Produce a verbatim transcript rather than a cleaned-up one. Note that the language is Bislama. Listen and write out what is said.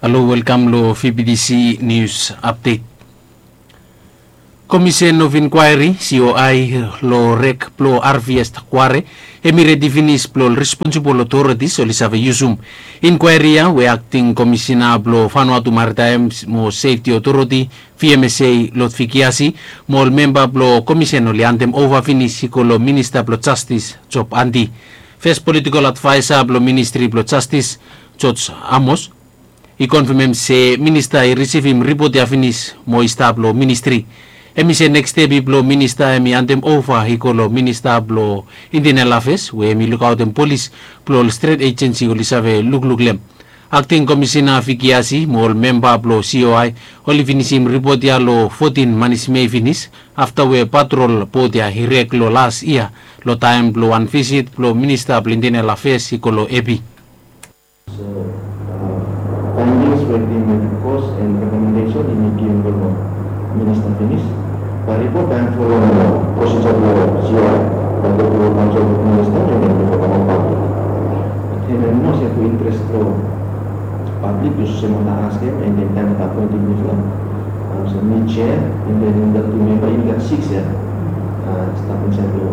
Halo, welkam lo V B T C News Update. Komisen of Inkwaeri, C O I, lo rek blo Harvest Quarry hemi redi finis blo ol responsibol otoritis oli save yusum. Inkwaeri ya we akting komisena blo Vanuatu Maritime mo Sefti Otoriti, V M S A, Lord Fikiasi, mo ol memba blo komisen oli handem ova finis i go lo Minista blo Jastis, Job Andy. Fes politikol advaesa blo Ministri blo Jastis, George Amos, i konfemem se minista i risivim ripot ya finis mo i stap lo ministri. Hemi se neks step i blo minista hemi handem ova i go lo Minista blo Internal Afes we hemi lukaotem polis blo ol stret ejensi oli save lukluk lo hem. Akting Komisena Fikiasi mo ol memba blo C O I oli finisim ripot ya lo fotin manis Mei finis, afta we patrol bot ya i rek lo las yia lo taem blo wan visit blo Minista blo Internal Afes i go lo Epi. So, uh, findings we hemi made, cause and recommendation hemi givim lo Minista finis. Bae ripot bae folem prosija blo C O I, bae go tru kaonsel blo Minista and then bifo kam pablik. Hemia nao se fu interes blo pablik, bikos olsem mi askem and then taem mi apoentem mifala, olsem mi jea and then mifala tu memba, yumi gat sikis ya, uh, stap insaed lo